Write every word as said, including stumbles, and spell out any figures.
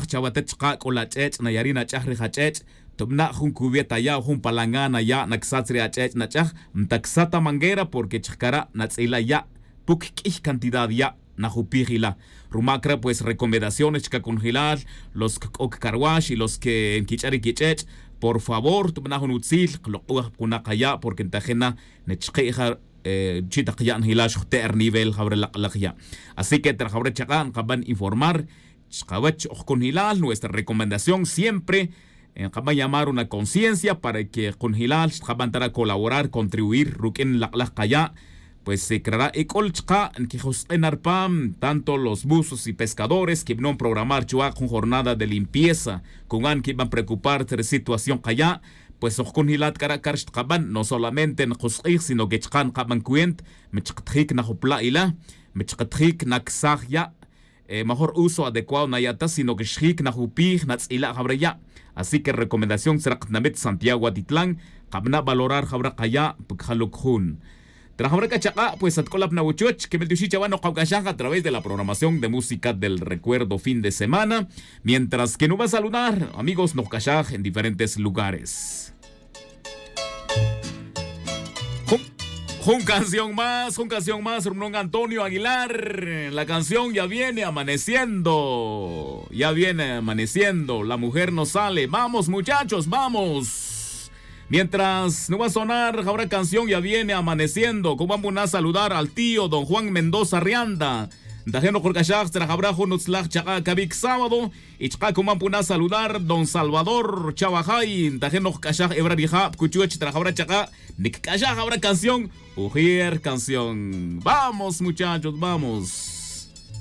Chawa tet chaka' c'o la ch'ech' nayari' nach'aj rij ach'ech'. Tubana' jun cubeta ya' o jun palangana ya' nacsatz ri ach'ech' nach'aj. Ntacsat ta manguera porque chaka' ra' natz'ila' ya'. Puc q'uiy cantidad ya' najupij ila'. Rumac re' pues recomendaciones chaka' conjelal los c'o cacarwax y los que nquich'a' ri quich'ech'. Por favor tubana' jun utzil klok'uaj punak aya' porque ntajin na nechki'ja. Chi' tak ya' njila' xujte' rinivel jawre' lak'laj ya'. Así que tra jawre' chaka' nkaban informar chkawech oj kunjilal nuestra recomendación siempre nkaban llamar una conciencia para que kunjilal xtkaban ta ra' colaborar contribuir ruq'uin lak'laj kaya'. Pues crara' ic'ul chka' nkijusk'in na rpam tanto los buzos y pescadores kibanon programar chuwa' jun jornada de limpieza. Cuma' nkiban preocupar ta ri situación kaya'. Pues oj kunjilat k'ara' kar xtkaban no solamente nkusk'ij sino que chka' nkaban cuenta. Mi chkatjic na jupla' ila'. Mi chkatjic na ksaj ya'. Mejor uso adecuado naya' ta sino que xjic na jupij natz'ila' jawre' ya'. Así que recomendación tzra' katinamit santiago atitlan. Kabana' valorar jawre' kaya' pa kajaluc jun. Tra jawre' k'a chak'a' pues atk'ulap na wuchuch kemel tioxi' chawa' nokawk'axaj a través de la programación de música del recuerdo fin de semana. Mientras que nuba' saludar amigos nokawk'axaj en diferentes lugares. Jun canción más jun canción más rumunong antonio aguilar. La canción ya viene amaneciendo ya viene amaneciendo la mujer no sale vamos muchachos vamos. Mientras nuba' sonar jawra' canción ya viene amaneciendo kuban puna' saludar al tío don juan mendoza rianda. Ntajin nokjurk'axaj tzra jawra' jun utzlaj chak'a' kabic sábado. Y chka' kuman puna' saludar don salvador chawajay ntajin nokjk'axaj ewra rijab kuchuch tzra jawra' chak'a'. Nikc'axaj jawra' canción. Ujier canción vamos muchachos vamos.